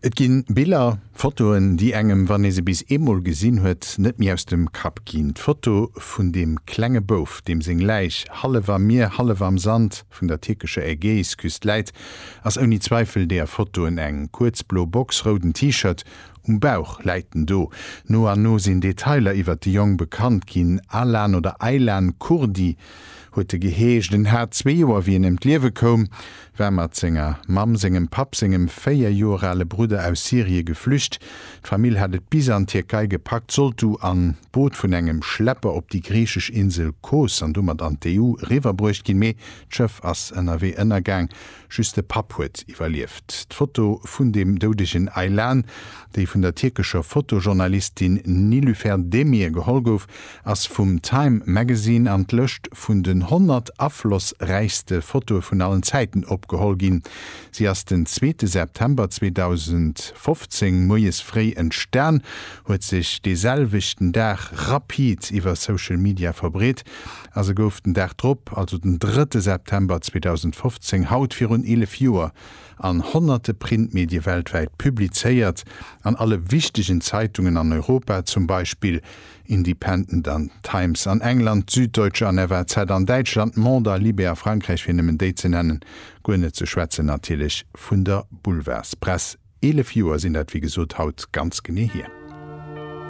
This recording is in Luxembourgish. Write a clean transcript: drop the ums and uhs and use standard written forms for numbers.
Et ginn Biller, Fotoen, déi engem, wann ee se bis eemol gesinn huet, net méi aus dem Kapp ginn. D'Foto vun deem klenge Bouf, deem seng Läich hallef am Mier, hallef am Sand vun der tierkescher Ägäisküst läit, ass ouni Zweifel deeër Fotoen eng. Kuerz blo Box, rouden T-Shirt, um Bauch läit en do. No an no sinn Detailer iwwert de Jong bekannt ginn, Alan oder Aylan Kurdi huet e geheescht. En hat zwee Joer, wéi en ëm d'Liewe koum. War mat senger Mamm, sengem Papp, sengem 4 Joer ale Brudder aus Syrie geflücht. D'Famill hat et bis an d'Tierkei gepackt, sollt du an d'Boot vun engem Schlepper op déi griichesch Insel Kos an domat an d'EU eriwwerbruecht ginn, mee d'Schëff ass ënnerwee ënnergaang. Just de Papp huet iwwerlieft. D'Foto vun dem doudegen Aylan, déi vun der tierkescher Fotojournalistin Nilüfer Demir geholl gouf, ass vum Time Magazine an d'Lëscht vun den 100 aflossräichste Fotoe vun allen Zäiten opgeholl ginn. Si ass den zweete September 2015 moies fréi entstan, huet sech dee selwechten Dag rapid iwwer Social Media verbreet a se gouf den Dag drop, also den drëtte September 2015, haut virun 11 Joer, an honnerte Printmedie weltwäit publizéiert, an alle wichtegen Zeitungen an Europa, zum Beispill Independent an Times an England, d'Süddeutsche an FAZ an Däitschland, Monde a Libé a Frankräich, fir nëmmen déi ze nennen, guer net ze schwätzen natierlech vun der Boulevardspress. 11 Joer sinn dat wéi gesot haut ganz genee hier.